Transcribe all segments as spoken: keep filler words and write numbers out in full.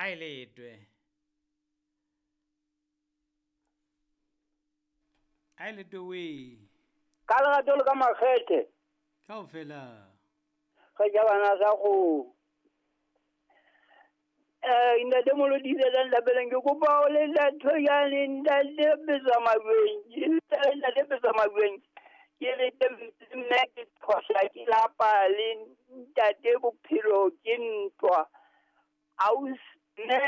A e letwe. A e letwe we. Ka lerato le ka makgethe. Kaofela. Ga ja bana sa go. Eh ntate Molodi le ntlapeleng ke kopa o le ntho ya le ntate betsa mabeng. Ntate betsa mabeng. Ke le mme ke thosa ke lapa le ntate bophelo ke ntwa. Aus ne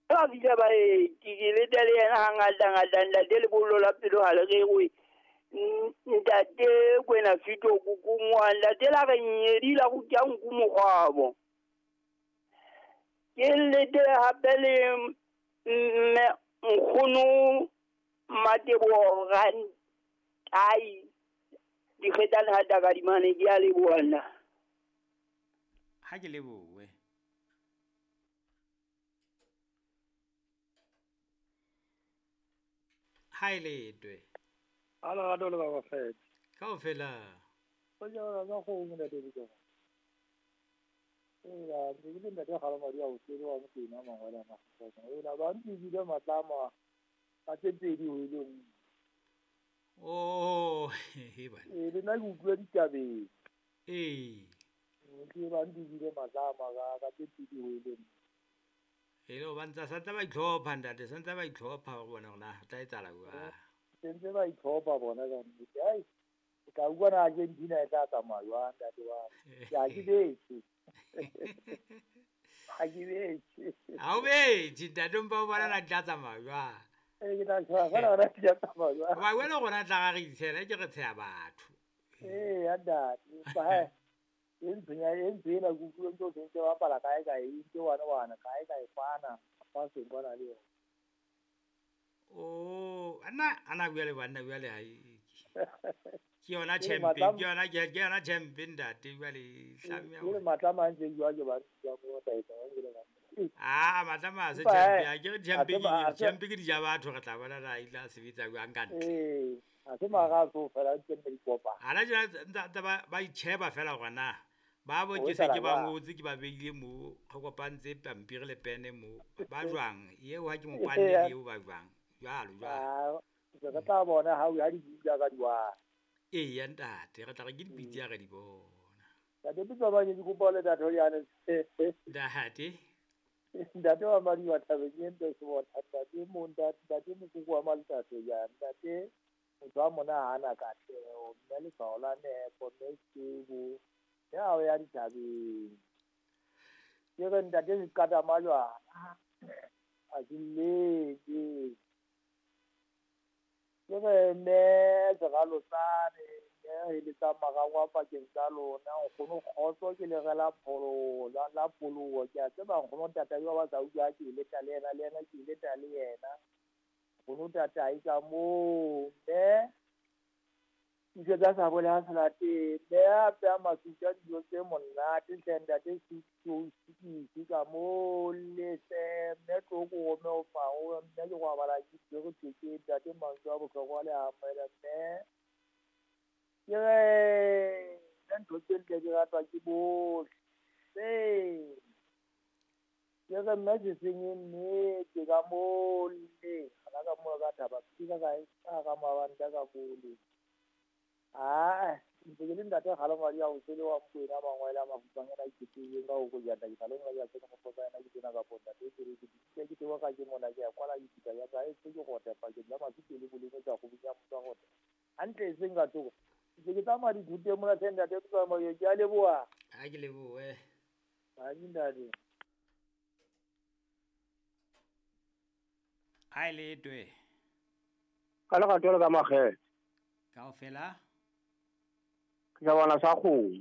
ba bile ba e ke le tele yena hangata ngata ntate le bollo la pelo ha le re ntate kwena fito kukungwa ntate la re nyedi la go tja nku mogwabo. Ke le te hape le mme nkgono Matebo Rantai dikgetana ha takadimane ke a leboha nna. Ha ke lebohe. Ha e letwe. A lerato le ba fetse. Kaofela. Go ja ka go ntate bitsa. Ela ke le ntate ga la madi a o tsere wa motena mangwele a mafatshe. Ela ba ntse bile matlama a tse pedi ho ile. Oh, he bana. E le nna ke utlwa ditabeng. Eh. Ke ba ntse bile matlama ka ka tse pedi ho ile. E le ba ntsa santsa ba itlhopha ntate, santsa ba itlhopha go bona gona tla etsala kwa. Sentse ba itlhopha bona ka nnete. Ai, ka utlwa na Argentina e tla tsamaya jwang ntate wa. Ke a ke betše. Ha ke betše. Ha o betše ntate mpa o bona na tla tsamaya jwang. E ke tla tshwara fela gona tla tsamaya jwang. Ba wena gona tla ga re itshela ke re tsheya batho. Ee ya ntate, ba e ntshenya e ntsena ku ku ntse ntse ba pala kae kae ntse wana wana kae kae kwana fa se bona le yona. Oh, ana ana bua le banna bua le ha ke yona champion, ke yona ke yona champion ntate bua le hlamya. Ke matlama ntse jwa ke ba tsa go taetsa ba le ba. Ah, matlama se champion, ke champion ke champion ke dija batho re tla bona ra ila sebetsa jwang ka ntle. Eh, a se mara so fela ntse me dikopa. Ana jena ntse ba ba itsheba fela gona. Ba bo ke se ke ba ngotse ke ba beile mo go kopantse pampiri le pene mo ba jwang eo ha ke mo kwanne le eo ba jwang jwalo jwalo. Ah, re tla bona ha o ya di buka ka diwa. Ee ya ntate re tla re ke dipitsi ya re di bona. Ntate pitsa ba ke kopa le ntate yane. Ntate. Ntate wa madi wa thabeng e ntse se bona ntate mo ntate ntate mokoko wa maltate ya ntate motho wa mona ha ana katleho mme le tshwao la nepo mme sebo ya o ya dithabeng. Ke re ntate se qata majwana a ke leke. Ke re mme seralotsane mme e le tsa marangwa pakeng tsa lona nkgono kgotso ke le rela pholo la la poloho ke a tseba nkgono tata yo ba sa utlwa ke ile ta le yena le yena ke ile ta le yena nkgono tata e ka moo mme dijo tsa sa bole ha salate mme a peha masuta dijo tse monate hle ntate se ka moo lese mme tloko mme o fao mme ke go abala ke re ke ntate mantswe a bohlokwa le amohela mme ke re nna ntho tse ntle di ratwa ke bohle. Ke re mme se senye nnete ka moo le gana ka moo ka thaba ke ka kae ka ka mabanta ka bole. Ah, ntse ke le ntate ga le madi a o sele wa Mokwena mangwele a mafupang ena ke tseng ka go go jata ke sale ngwa ya tsena go fosa ena ke tsena ka ponda te ke ke ke ke tewa ka ke mona ke ya kwala ke kita ya ka e se ke go tepa ke la matsi le boleng tsa go bunya motsa go hantle e seng ka tsoko ke ke tsamaya dithute mona tse ntate ke tsamaya ke a leboha. Ha ke lebohe. Ha ke ntate. Ha e letwe. Ka lerato le ka makgethe. Kaofela. Ke bona sa kgomo.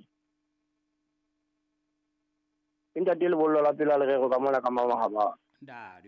Ntate lebollo la pela le rero ka mona ka mama ha ba. Ntate.